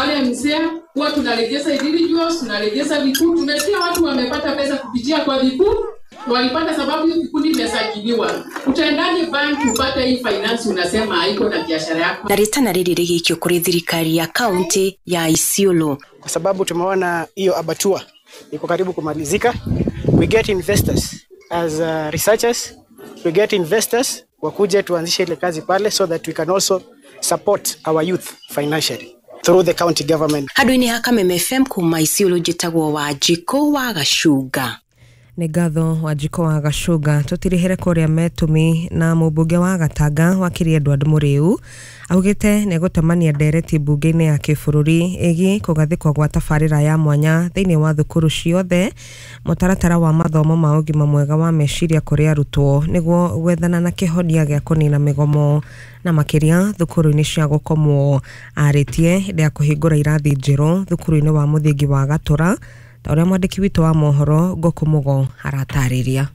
Wale mzee huwa tunarejesha individuals, tunarejesha vikundi. Tumesikia watu wamepata pesa kupitia kwa vikundi, walipata sababu hiyo kikundi imesajiliwa. Utaendaje bank upate hii finance unasema haiko na biashara yako? Na ritana riri rigikio kuri thirikari ya kaunti ya Isiolo, kwa sababu tumeona hiyo abatua iko karibu kumalizika. We get investors as researchers, we get investors wakuje tuanzishe ile kazi pale so that we can also support our youth financially through the county government. Handu-inĩ ha Kameme FM kuma Isiolo njĩtagwo Wanjikũ wa Gacunga. Nĩ ngatho Wanjikũ wa Gacunga. Tũtirihere kũrĩa Metũmi na mũmbunge wa Gatanga wakiri Edward Mũrĩu augĩte nĩ gũtemania ndereti mbunge-inĩ ya kĩbũrũri ĩgiĩ kũgathĩkwo gwa tabarĩra ya mwanya thĩinĩ wa thukuru ciothe mũtaratara wa mathomo ma ũgima mwega wa meciria kũrĩ arutwo nĩguo gwethana na kĩhonia gĩa kũnina mĩgomo na makĩria thukuru-inĩ cia gũkomwo. Arĩtie hĩndĩ ya kũhingũra irathi njerũ thukuru-inĩ wa mũthingi wa Gatũra, ta ũrĩa mwandĩki witũ wa mohoro Ngũkũ Mũgo aratarĩria.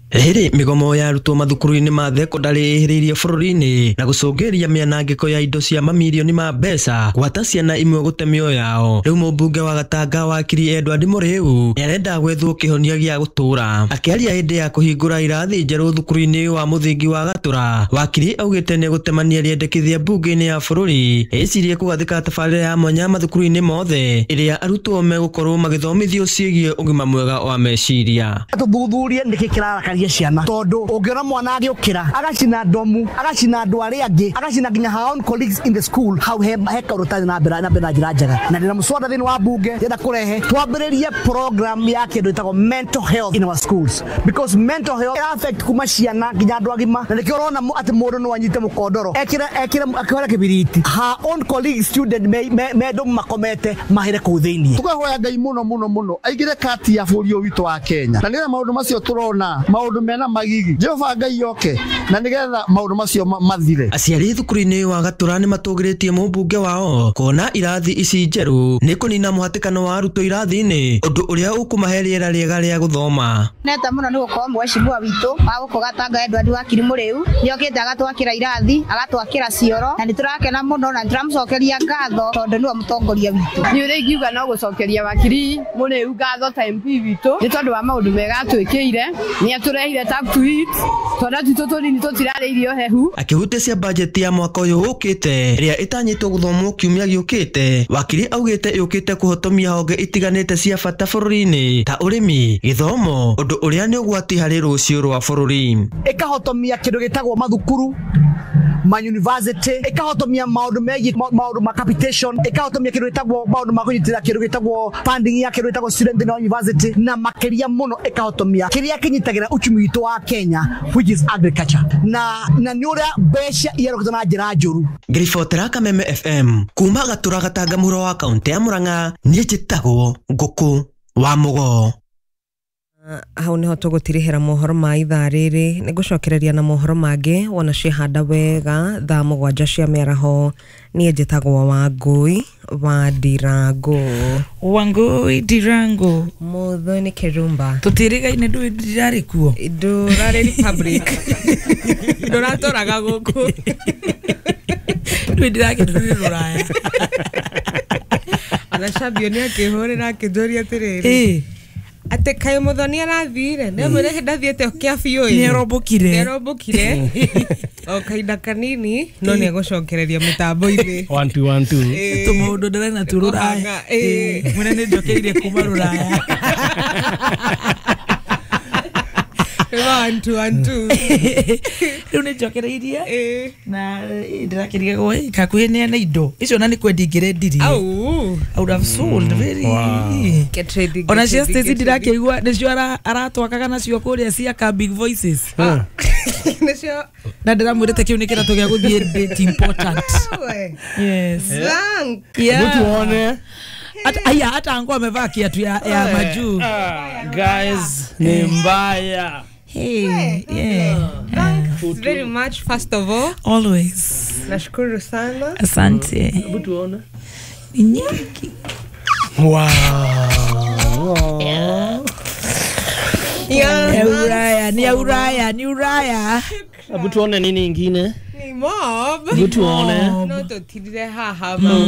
Rĩrĩ mĩgomo ya arutwo mathukuru-inĩ ma thekondarĩ ĩhĩrĩirie bũrũri-inĩ na gũcũngĩrĩria mĩanangĩko ya indo cia mamirioni ma mbeca gwata ciana imwe gũte mĩoyo yao. Rĩu mũmbunge wa Gatanga wakiri Edward Mũrĩu nĩarenda gwethwo kĩhonia gĩa gũtũra. Akĩaria hĩndĩ ya kũhingũra irathi njerũ thukuru-inĩ wa mũthingi wa Gatũra, wakiri augĩte nĩegũtemania rĩendekithia mbunge-inĩ ya bũrũri ĩcirie kũgathĩka tabarĩra ya mwanya mathukuru-inĩ mothe ĩrĩa arutwo megũkorwo magĩthomithio ciĩgiĩ ũgima mwega wa meciria. Tũthuthurie nĩkĩ kĩrarakaria ciana, tondu ungiona mwana agiukira agacina ndomu, agacina andu aria angi, agacina nginya her own colleagues in the school, hau he kaundu tari na mbere na njira njega. Na ndina muswada thiini wa bunge ndĩrenda kurehe twambiririe program ya kindu itagwo mental health in our schools, because mental health affect kuma ciana nginya andu agima, na nikio urona ati mundu no anyite mukondoro ekire ekire akihora kibiriti, her own colleagues student me ndomu makomete mahire kuu thiini. Tukahoya Ngai muno muno muno aigire kati ya bũrũri ũyũ witũ wa Kenya, na nĩgetha maũndũ macio tũrona maũndũ mena magigi Jehova Ngai oke na nĩgetha maũndũ macio mathire. Aciari thukuru-inĩ wa Gatũra nĩmatũgĩrĩtie mũmbunge wao kuona irathi ici njerũ nĩ kũnina mũhatĩkano wa arutwo irathi-inĩ, ũndũ ũrĩa ũkũmahe rĩera rĩega rĩa gũthoma. Neta mũno nĩ gũkorwo mheshimiwa witũ wa gũkũ Gatanga Edward Wakiri Mũrĩu nĩokĩte agatwakĩra irathi, agatwakĩra cioro, na nĩtũrakena mũno na nĩtũramũcokeria ngatho tondũ nĩwe mũtongoria witũ. Niĩ ũrĩa ingiuga no gũcokeria Wakiri Mũrĩu ngatho ta MP witũ nĩ tondũ wa maũndũ mega atwĩkĩire, nĩ atũrehire tap to eat, twana twitũ tũnini tũtirarĩa irio hehu. Akĩhutia cia bajeti ya mwaka ũyũ ũkĩte ĩrĩa ĩtanyĩtwo gũthomwo kiumia gĩũkĩte, wakiri augĩte yũkĩte kũhotomia honge itiganĩte cia bata bũrũri-inĩ ta ũrĩmi, gĩthomo, ũndũ ũrĩa nĩ ũgwati harĩ rũciũ rwa bũrũri. Ĩkahotomia kĩndũ gĩtagwo mathukuru ma university, ĩkahotomia maũndũ megiĩ maũndũ ma capitation, ĩkahotomia kĩndũ gĩtagwo maũndũ ma kũnyitĩrĩra kĩndũ gĩtagwo funding ya kĩndũ gĩtagwo student in university, na makĩria mũno ĩkahotomia kĩrĩa kĩnyitagĩra uchumi witũ wa Kenya, which is agriculture, na nĩ ũrĩa mbeca iyarũkĩtwo na njĩra njũru. Ngĩribotera Kameme FM kuma Gatũra Gatanga mũhuro wa kaũntĩ ya Murang'a, niĩ njĩtagwo Ngũkũ wa Mũgo. Hau niho tũgũtirihĩra mohoro ma ithaa rĩrĩ. Nĩngũcokereria na mohoro mangĩ wona ciehanda wega thaa 7 cia mĩaraho. Niĩ njĩtagwo Wangũi wa Ndirango. Wangũi Ndirango. Mũthoni Kĩrumba. Tũtirigaine ndũĩ ndirarĩ kuo. Ndũrarĩ Republic. Ndũratũraga gũkũ. Ndũĩ ndirakĩndũrĩ rũraya. Ona Shabio nĩ akĩhũrĩra akĩnjũria atĩrĩrĩ, ate kayo Muthoni arathire ne mwire ndathiete kia biũ nĩarombũkire nĩarombũkire o kahinda kanini no nĩegũcokereria mĩtambo-inĩ 1 2 1 2 tũmaũndũ ndĩrena tu rũraya mwene nĩ njokeire kuma rũraya. 1 2 1 2 rĩu nĩ njokereirie na ndĩrakĩrigagwo kakuhĩ neana indo icio na nĩ kwendia ingĩrendirie. I would have sold very. Get ready. Ona cia Stacy ndirakĩigua nĩcio aratwakaga nacio kũrĩa cia ka Big Voices. Nĩcio na ndĩramwĩrĩte kĩu nĩ kĩratũ gĩa gũthiĩ date important. Yes. Thank. Yeah. Tuone. Aya hata angu amevaa kiatu ya majuu. Guys, ni mbaya. Hey, yeah. Thanks very much first of all. Always. Nashukuru sana. Asante. Hebu tuone. Ni nyingi. Wow. Yeah. Ni Uraya, ni Uraya. Hebu tuone nini ingine? Ni mob. Hebu tuone. No tutirire haha.